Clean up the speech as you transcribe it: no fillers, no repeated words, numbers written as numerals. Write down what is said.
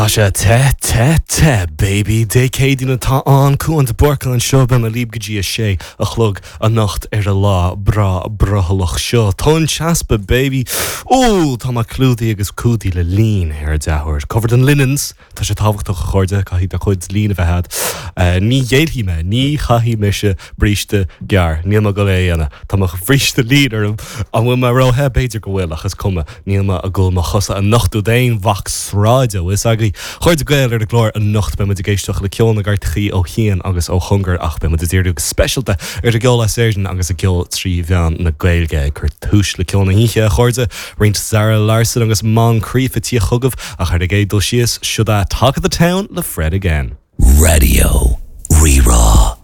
sé te, te, te, baby. Dé Céadaoin atá ann, Cúán de Búrca anseo, beidh mé libh go dtí a sé a chlog anocht ar an lá breá brothallach seo. Tonn teasa, baby. Ooh, tá mé clúdaithe agus cumhdaithe le lín ar an dea-uair. Covered in linens. Tá sé tábhachtach, a chairde, caithfidh do chuid lín a bheith agat. Ní ghéillfidh mé, ní chaithfidh mise bríste gearr. Níl mé ag dul é a dhéanamh. Tá mo bhríste lín orm. An bhfuil mé ró-the? B'fhéidir go bhfuil, ach is cuma. Níl mé ag dul mo chosa a nochtadh d'aon mhac sráide, bhfuil fhios agaibh. Chairde Gael ar an gclár anocht, beidh muid ag éisteacht le ceol na gcairteachaí ó chian agus ó chóngar ach beidh muid ag díriú go speisialta ar an gceol as Éirinn agus an gceol trí mheán na Gaeilge. Ag cur túis le ceol na hoíche, a chairde, roinnt Zara Larsson agus Moncrieff ag tíocht chugaibh ach ar an gcéad dul síos, siod é Talk of the Town le Fred Again. Raidió Rí-Rá.